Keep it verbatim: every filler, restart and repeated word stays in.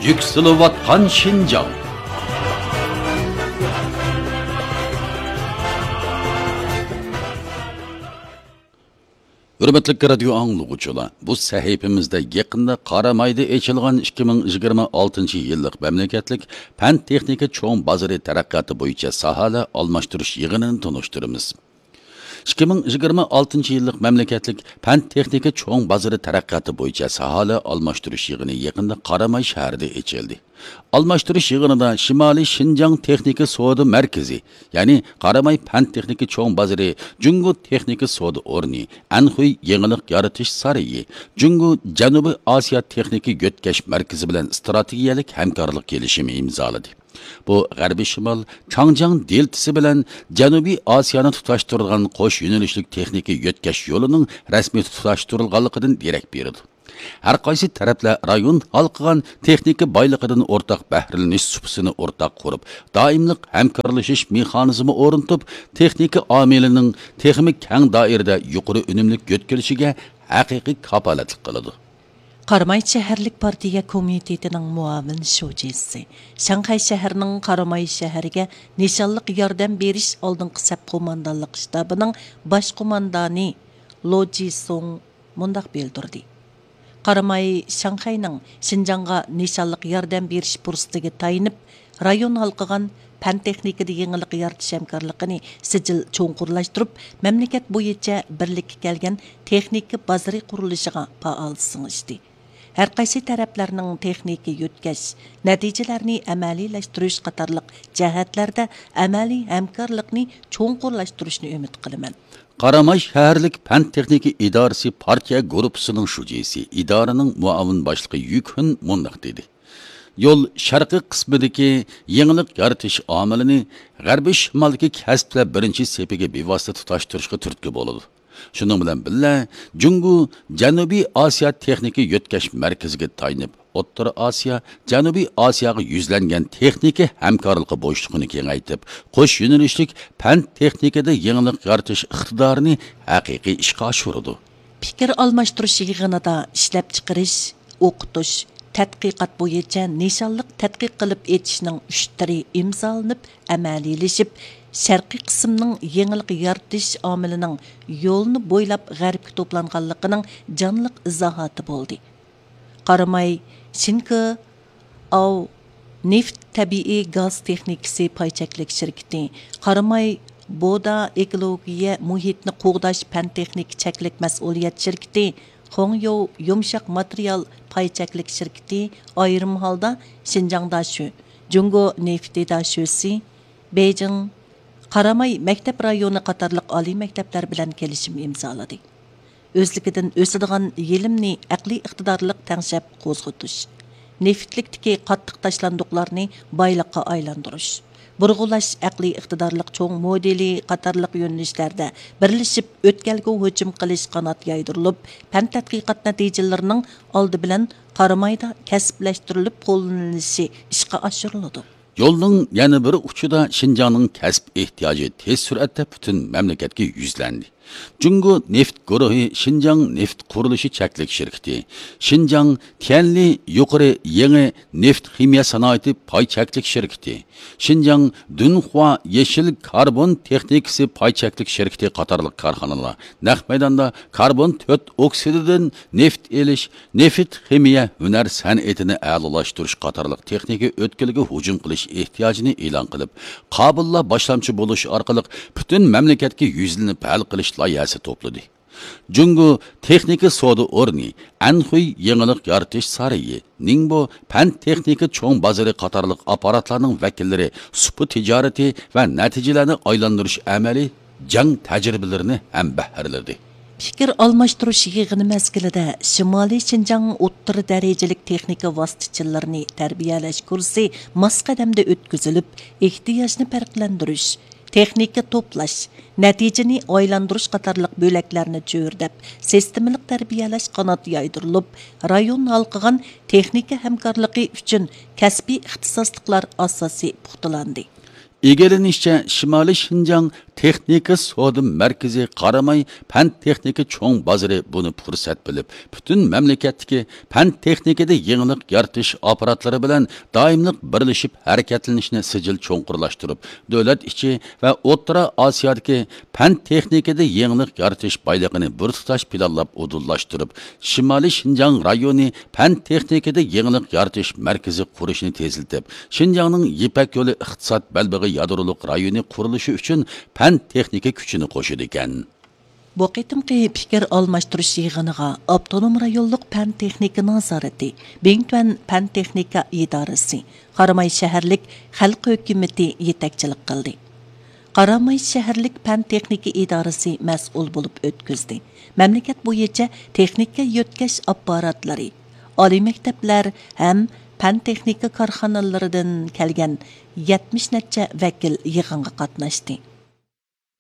يۈكسىلىۋاتقان شىنجاڭ. ھۆرمەتلىك رادىيو ئاڭلىغۇچىلار، بۇ سەھىپىمىزدە يېقىندا قارامايدا ئېچىلغان ئىككى مىڭ يىگىرمە ئالتىنچى يىللىق مەملىكەتلىك پەن تېخنىكا چوڭ بازىرى تەرەققىياتى بويىچە ساھەلەر ئالماشتۇرۇش يىغىنىنى تونۇشتۇرىمىز. ئىككى مىڭ يىگىرمە ئالتىنچى يىللىق مەملىكەتلىك پەن تېخنىكا چوڭ بازىرى تەرەققىياتى بويىچە ساھەلەر ئالماشتۇرۇش يىغىنى يېقىندا قاراماي شەھىرىدە ئېچىلدى. ئالماشتۇرۇش يىغىنىدا شىمالىي شىنجاڭ تېخنىكا سودا مەركىزى، يەنى قاراماي پەن تېخنىكا چوڭ بازىرى، جۇڭگو تېخنىكا سودا ئورنى، ئەنخۇي يېڭىلىق يارىتىش سارىيى، جۇڭگو جەنۇبىي ئاسىيا تېخنىكا يۆتكەش مەركىزى بىلەن ئىستراتېگىيەلىك ھەمكارلىق كېلىشىمى ئىمزالىدى. بۇ غەربىي شىمال چاڭجياڭ دېلتىسى بىلەن جەنۇبىي ئاسىيانى تۇتاشتۇرىدىغان قوش يۆنىلىشلىك تېخنىكا يۆتكەش يولىنىڭ رەسمىي تۇتاشتۇرۇلغانلىقىدىن دېرەك بېرىدۇ. ھەر قايسى تەرەپلەر رايون ھالقىغان تېخنىكا بايلىقىدىن ئورتاق بەھرىلىنىش سۇپىسىنى ئورتاق قۇرۇپ، دائىملىق ھەمكارلىشىش مېخانىزمى ئورنىتىپ، تېخنىكا ئامىلىنىڭ تېخىمۇ كەڭ دائىرىدە يۇقىرى ئۈنۈملۈك يۆتكىلىشىگە ھەقىقىي كاپالەتلىك قىلىدۇ. قاراماي شەھەرلىك پارتىيە كومىتېتىنىڭ مۇئاۋىن شۇجىسى، شاڭخەي شەھىرىنىڭ قاراماي شەھىرىگە نىشانلىق ياردەم بېرىش ئالدىنقى سەپ قوماندانلىق شتابىنىڭ باش قوماندانى لو جىسۇڭ مۇنداق بىلدۈردى: قاراماي شاڭخەينىڭ شىنجاڭغا نىشانلىق ياردەم بېرىش پۇرسىتىگە تايىنىپ، رايون ھالقىغان پەن تېخنىكىدا يېڭىلىق يارىتىش ھەمكارلىقىنى سىجىل چوڭقۇرلاشتۇرۇپ، مەملىكەت بويىچە بىرلىككە كەلگەن تېخنىكا بازىرى قۇرۇلۇشىغا پائال سىڭىشتى. ھەر قايسى تەرەپلەرنىڭ تېخنىكا يۆتكەش، نەتىجىلەرنى ئەمەلىيلەشتۈرۈش قاتارلىق جەھەتلەردە ئەمەلىي ھەمكارلىقنى چوڭقۇرلاشتۇرۇشنى ئۈمىد قىلىمەن. قاراماي شەھەرلىك پەن تېخنىكا ئىدارىسى پارتىيە گۇرۇپپىسىنىڭ شۇجىسى، ئىدارىنىڭ مۇئاۋىن باشلىقى يۈ كۈن مۇنداق دېدى: يول شەرقىي قىسمىدىكى يېڭىلىق يارىتىش ئامىلىنى غەربىي شىمالدىكى كەسىپلەر بىرىنچى سېپىگە بىۋاسىتە تۇتاشتۇرۇشقا تۈرتكە بولىدۇ. شۇنىڭ بىلەن بىللە، جۇڭگو جەنۇبىي ئاسىيا تېخنىكا يۆتكەش مەركىزىگە تايىنىپ، ئوتتۇرا ئاسىيا، جەنۇبىي ئاسىياغا يۈزلەنگەن تېخنىكا ھەمكارلىقى بوشلۇقىنى كېڭەيتىپ، قوش يۆنىلىشلىك پەن تېخنىكىدا يېڭىلىق يارىتىش ئىقتىدارىنى ھەقىقىي ئىشقا ئاشۇرىدۇ. پىكىر ئالماشتۇرۇش يىغىنىدا ئىشلەپچىقىرىش، ئوقۇتۇش، تەتقىقات بويىچە نىشانلىق تەتقىق قىلىپ ئېچىشنىڭ ئۇچ تۈرى ئىمزالىنىپ ئەمەلىيلىشىپ، شەرقىي قىسىمنىڭ يېڭىلىق يارىتىش ئامىلىنىڭ يولنى بويلاپ غەربكە توپلانغانلىقىنىڭ جانلىق ئىزاھاتى بولدى. قاراماي شىنكې ئاۋ نېفىت تەبىئىي گاز تېخنىكىسى پاي چەكلىك شىركىتى، قاراماي بودا ئېكولوگىيە مۇھىتنى قوغداش پەن تېخنىكا چەكلىك مەسئۇلىيەت شىركىتى، خۇڭيوۋ يۇمشاق ماتېرىيال پاي چەكلىك شىركىتى ئايرىم ھالدا شىنجاڭ داشۆ، جۇڭگو نېفىتى داشۆسى، بېيجىڭ، قاراماي مەكتەپ رايونى قاتارلىق ئالىي مەكتەپلەر بىلەن كېلىشىم ئىمزالىدى. ئۆزلۈكىدىن ئۆسىدىغان يېلىمنى ئەقلىي ئىقتىدارلىق تەڭشەپ قوزغىتىش، نېفىتلىكتىكى قاتتىق تاشلاندۇقلارنى بايلىققا ئايلاندۇرۇش، بۇرغۇلاش ئەقلىي ئىقتىدارلىق چوڭ مودېلى قاتارلىق يۆنىلىشلەردە بىرلىشىپ ئۆتكەلگە ھۇجۇم قىلىش قانات يايدۇرۇلۇپ، پەن تەتقىقات نەتىجىلىرىنىڭ ئالدى بىلەن قارامايدا كەسىپلەشتۈرۈلۈپ قوللىنىلىشى ئىشقا ئاشۇرۇلىدۇ. يولنىڭ يەنە بىر ئۇچىدا شىنجاڭنىڭ كەسىپ ئېھتىياجى تېز سۈرئەتتە پۈتۈن مەملىكەتكە يۈزلەندى. جۇڭگو نېفىت گۇرۇھى شىنجاڭ نېفىت قۇرۇلۇشى چەكلىك شىركىتى، شىنجاڭ تيەنلى يۇقىرى يېڭى نېفىت خىمىيە سانائىتى پاي چەكلىك شىركىتى، شىنجاڭ دۇنخۇا يېشىل كاربون تېخنىكىسى پاي چەكلىك شىركىتى قاتارلىق كارخانىلار نەق مەيداندا كاربون تۆت ئوكسىدىدىن نېفىت ئېلىش، نېفىت خىمىيە ھۈنەر سەنئىتىنى ئەلالاشتۇرۇش قاتارلىق تېخنىكا ئۆتكىلىگە ھۇجۇم قىلىش ئېھتىياجىنى ئېلان قىلىپ، قابىللا باشلامچى بولۇش ئارقىلىق پۈتۈن مەملىكەتكە يۈزلىنىپ ھەل قىلىش لايىھەسى توپلىدى. جۇڭگو تېخنىكا سودا ئورنى، ئەنخۇي يېڭىلىق يارىتىش سارىيى، نىڭبو پەن تېخنىكا چوڭ بازىرى قاتارلىق ئاپپاراتلارنىڭ ۋەكىللىرى سۇپا تىجارىتى ۋە نەتىجىلەرنى ئايلاندۇرۇش ئەمەلىي جەڭ تەجرىبىلىرىنى ھەمبەھىرلىدى. پىكىر ئالماشتۇرۇش يىغىنى مەزگىلىدە شىمالىي شىنجاڭ ئوتتۇرا دەرىجىلىك تېخنىكا ۋاسىتىچىلىرىنى تەربىيەلەش كۇرسى ماس قەدەمدە ئۆتكۈزۈلۈپ، ئېھتىياجنى پەرقلەندۈرۈش، تېخنىكا توپلاش، نەتىجىنى ئايلاندۇرۇش قاتارلىق بۆلەكلەرنى چۆرىدەپ، سىستېمىلىق تەربىيەلەش قانات يايدۇرۇلۇپ، رايون ھالقىغان تېخنىكا ھەمكارلىقى ئۈچۈن كەسپىي ئىختىساسلىقلار ئاساسى پۇختىلاندى. ئىگىلىنىشىچە، شىمالىي شىنجاڭ تېخنىكا سودا مەركىزى قاراماي پەن تېخنىكا چوڭ بازىرى بۇنى پۇرسەت بىلىپ، پۈتۈن مەملىكەتتىكى پەن تېخنىكىدا يېڭىلىق يارىتىش ئاپپاراتلىرى بىلەن دائىملىق بىرلىشىپ ھەرىكەتلىنىشنى سىجىل چوڭقۇرلاشتۇرۇپ، دۆلەت ئىچى ۋە ئوتتۇرا ئاسىيادىكى پەن تېخنىكىدا يېڭىلىق يارىتىش بايلىقىنى بىر تۇتاش پىلانلاپ ئۇدۇللاشتۇرۇپ، شىمالىي شىنجاڭ رايونى پەن تېخنىكىدا يېڭىلىق يارىتىش مەركىزى قۇرۇشنى تېزلىتىپ، شىنجاڭنىڭ يىپەك يولى ئىقتىساد بەلبېغى يادرولۇق رايونى قۇرۇلۇشى ئۈچۈن پەن تېخنىكا كۈچىنى قوشىدىكەن. بۇ قېتىمقى پىكىر ئالماشتۇرۇش يىغىنىغا ئاپتونوم رايونلۇق پەن تېخنىكا نازارىتى، بىڭتۈەن پەن تېخنىكا ئىدارىسى، قاراماي شەھەرلىك خەلق ھۆكۈمىتى يېتەكچىلىك قىلدى. قاراماي شەھەرلىك پەن تېخنىكا ئىدارىسى مەسئۇل بولۇپ ئۆتكۈزدى. مەملىكەت بويىچە تېخنىكا يۆتكەش ئاپپاراتلىرى، ئالىي مەكتەپلەر ھەم پەن تېخنىكا كارخانىلىرىدىن كەلگەن يەتمىش نەچچە ۋەكىل يىغىنغا قاتناشتى.